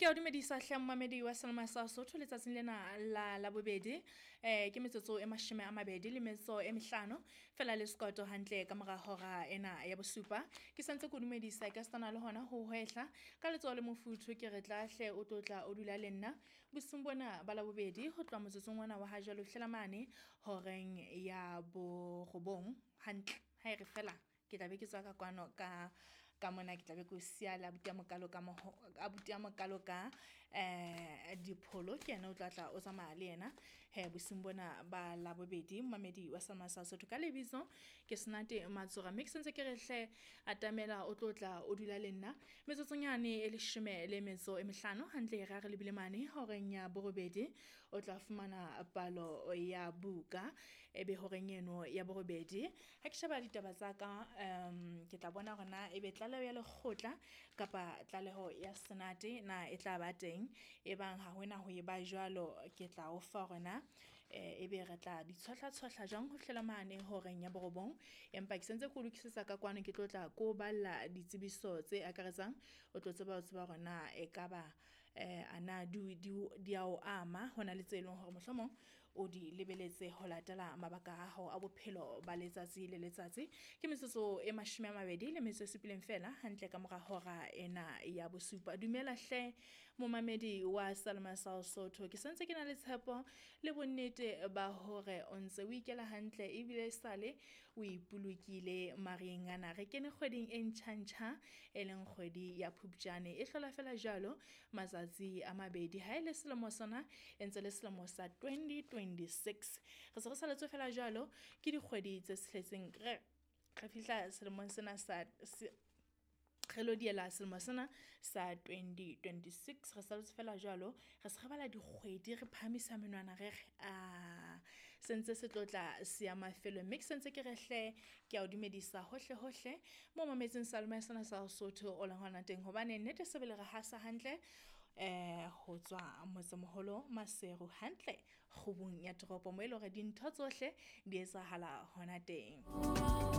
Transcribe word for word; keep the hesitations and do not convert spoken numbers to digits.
Ke a dumedisa hle mmamedi wa Selma sa Sotho letsatsing lena la Labobedi. Eh ke metsotso e mashome a mabedi le metso e mehlano fela le sekoto hantle ka mora hora ena ya bosupa. Ke santse ke o dumedisa ka setana le hona ho hwehla ka letsoho le mofuthu, ke re tla hle o tlotla o dula le nna bosiung bona ba Labobedi ho tloha motsotsong ona wa ha jwale ho fihlela mane horeng ya borobong hantle. Ha e re fela ke tla be ke tswa ka kwano ka ka mona, ke tla be ke o siya le abuti a mokalo ka moho, abuti a mokalo ka eh dipholo. Ke yena o tla tla o tsamaya le yena he bosiung bona ba Labobedi. Mmamedi wa Selma sa Sotho, ka lebitso ke Senate Matsora, mme ke sentse ke re hle atamela o tlo tla o dula le nna metsotsong yane e leshome le metso e mehlano hantle. E re ha re lebile mane horeng ya borobedi, o tla fumana palo ya buka, ebe horeng eno ya borobedi ha ke sheba ditaba tsa ka, um ke tla bona hore na ebe tlaleho ya lekgotla kapa tlaleho ya senate na e tla ba teng. Ebang ha hona ho e ba jwalo, ke tla o fa hore na ebe re tla di tshohla-tshohla jwang ho fihlela mane horeng ya borobong. Empa ke sentse ke o lokisetsa ka kwano, ke tlo tla ko balla ditsebiso tse akaretsang, o tlo tseba ho tseba hore na ekaba eh ana di di di a o ama, hona le tse leng hore mohlomong o di lebeletse ho latela mabaka a hao a bophelo ba letsatsi le letsatsi. Ke metsotso e mashome a mabedi le metso e supileng fela hantle ka mora hora ena ya bosupa. Dumela hle momamedi wa Selma sa Sotho, ke santse ke na le tshepo le bonnete ba hore o ntse o ikela hantle ebile sale o ipolokile mareng ana. Re kene kgweding e ntjha-ntjha e leng kgwedi ya Phupjane, e hlola fela jwalo matsatsi a mabedi. Ha e le selemo sona e ntse le selemo sa twenty twenty-six, re se re saletswe fela jwalo ke dikgwedi tse tsheletseng. Re re fihla selemong sena sa se, re lo diela selemo sena sa twenty twenty-six, re saletse fela jwalo, re se re bala dikgwedi, re phahamisa menwana, re re a sentse se tlotla se ya mafelo. Mme ke sentse ke re hle ke a o dumedisa hohle hohle mo mametseng Salome sena sa Sotho o leng hona teng, hobane nnete sebele re hasa hantle eh ho tswa motsemoholo Maseru hantle kgubung ya toropo, mo e leng hore dintho tsohle di etsahala hona teng.